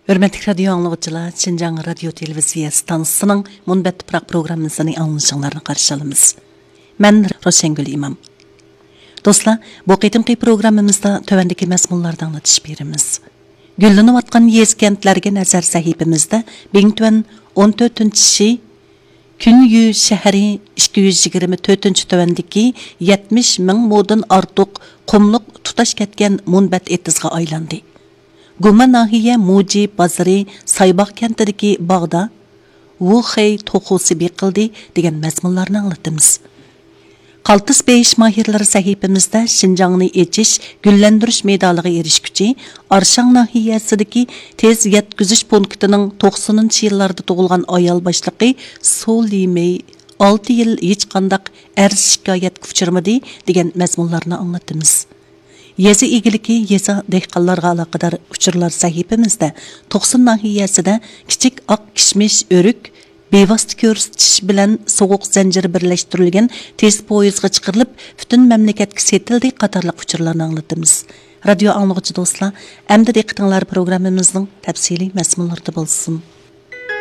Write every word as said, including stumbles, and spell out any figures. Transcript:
ھۆرمەتلىك رادىيو ئاڭلىغۇچىلار، شىنجاڭ رادىيو تېلېۋىزىيە ئىستانسىسىنىڭ مۇنبەت تۇپراق پروگراممىسىنى ئاڭلىشىڭلارنى قارشى ئالىمىز. مەن روشەنگۈل ئىمام. دوستلار، بۇ قېتىمقى پروگراممىمىزدا تۆۋەندىكى مەزمۇنلاردا ئاڭلىتىش بېرىمىز. گۈللىنىۋاتقان يېزا-كەنتلەرگە نەزەر سەھىپىمىزدە بىڭتۈەن ئون تۆتىنچى شى، كۈنيۈ شەھىرى ئىككى يۈز يىگىرمە تۆتىنچى تۆۋەندىكى يەتمىش مىڭ مودىن ئارتۇق قۇملۇق تۇتاش كەتكەن مۇنبەت ئېتىزغا ئايلاندى. گۇما ناھىيە مۇجى بازىرى سايباغ كەنتىدىكى باغدا ۋۇخېي توخۇسى بېقىلدى دېگەن مەزمۇنلارنى ئاڭلىتىمىز. قالتىس بېيىش ماھىرلىرى سەھىپىمىزدە شىنجاڭنى ئېچىش، گۈللەندۈرۈش مېدالىغا ئېرىشكۈچى ئارشاڭ ناھىيەسىدىكى تېز يەتكۈزۈش پونكىتىنىڭ توقسىنىنچى يىللاردا تۇغۇلغان ئايال باشلىقى سۇ لىمېي ئالتە يىل ھېچقانداق ئەرز شىكايەتكە ئۇچرىمىدى دېگەن مەزمۇنلارنى ئاڭلىتىمىز. يېزا ئىگىلىكى، يېزا، دېھقانلارغا ئالاقىدار ئۇچۇرلار سەھىپىمىزدە توقسۇن ناھىيەسىدە كىچىك ئاق كىشمىش، ئۆرۈك بىۋاسىتە كۆرسىتىش بىلەن سوغۇق زەنجىرى بىرلەشتۈرۈلگەن تېز پويىزغا چىقىرىلىپ، پۈتۈن مەملىكەتكە سېتىلدى قاتارلىق ئۇچۇرلارنى ئاڭلىتىمىز. رادىيو ئاڭلىغۇچى دوستلار، ئەمدى دىققىتىڭلار پروگراممىمىزنىڭ تەپسىلىي مەزمۇنلىرىدا بولسۇن.